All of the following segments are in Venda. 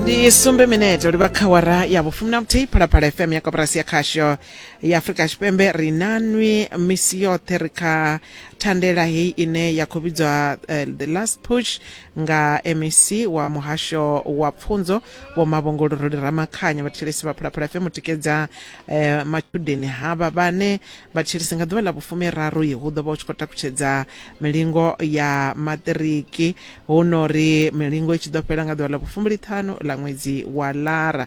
Ndi sumbe minete livha kha wara ya vhufumi na vhuthihi. Phalaphala FM ya koporasi ya khasho ya Afrika Tshipembe, ri na nwi misi yoṱhe ri kha thandela heyi ine ya khou vhidzwa The Last Push nga MEC wa muhasho wa pfunzo Vho Mavhongo Luruli Ramakhanya. Vhathetshelesi vha Phalaphala FM u tikedza matshudeni havha vhane vhathetshelesi nga ḓuvha ḽa vhufumiraru hu ḓo vha hu tshi khou takutshedza milingo ya maṱiriki, hu no ri milingo i tshi ḓo fhela nga ḓuvha ḽa vhufumbiliṱhanu ḽa ṅwedzi wa Lara.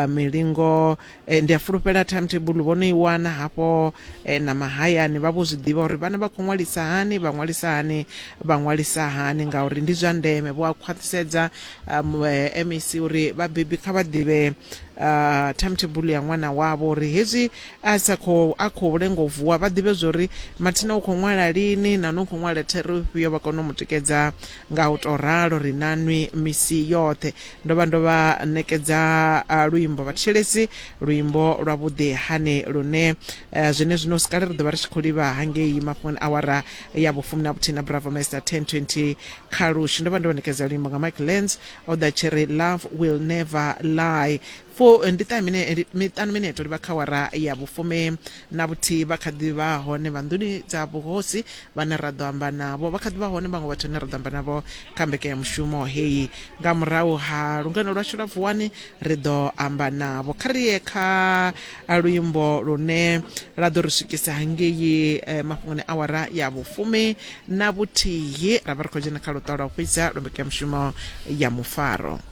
Milingo ndi a fulufhela timetable vho no i wana hafho na mahayani vha vho zwi ḓivha uri vhana vha khou ṅwalisa hani, vha ṅwalisa hani, vha ṅwalisa hani, ngauri ndi zwa ndeme. Vho a khwaṱhisedza MEC uri vhabebi kha vha ḓivhe timetable ya ṅwana wavho, uri hezwi a sa khou a khou lenga u vuwa vha ḓivhe zwori mathina u khou ṅwala lini na u khou ṅwala thero ifhio, vha kone u mu tikedza nga u tou ralo. Ri na nwi misi yoṱhe. Ndo vha ndo vha ṋekedza luimbo vhathetshelesi, luimbo lwa vhuḓi hani lune zwene zwino sikale ri ḓo vha ri tshi khou livha hangei mafhungoni awara ya vhufumi na vhuthihi na Bravo Master 10:20 kha Lushi. Ndo vha ndo vha ṋekedza luimbo nga Mike Lens o ḓa tshi ri Love Will Never Lie. Fo ndi ṱahe mine, miṱanu minete u livha kha awara ya vhufumi na vhuthihi. Vha kha ḓi vha hone vha nḓuni dza vhuhosi vhane ra ḓo amba navho, vha kha ḓi vha hone vhaṅwe vhathu vhane ra ḓo amba navho kha mbekanyamushumo heyi. Nga murahu ha lungano lwashu lwa Vuwani ri ḓo amba navho. Kha ri ye kha luimbo lune lwa ḓo ri swikisa hangei mafhungoni awara ya vhufumi na vhuthihi, ra vha ri khou dzhena kha luṱa lwa u fhedza lwa mbekanyamushumo ya mufaro.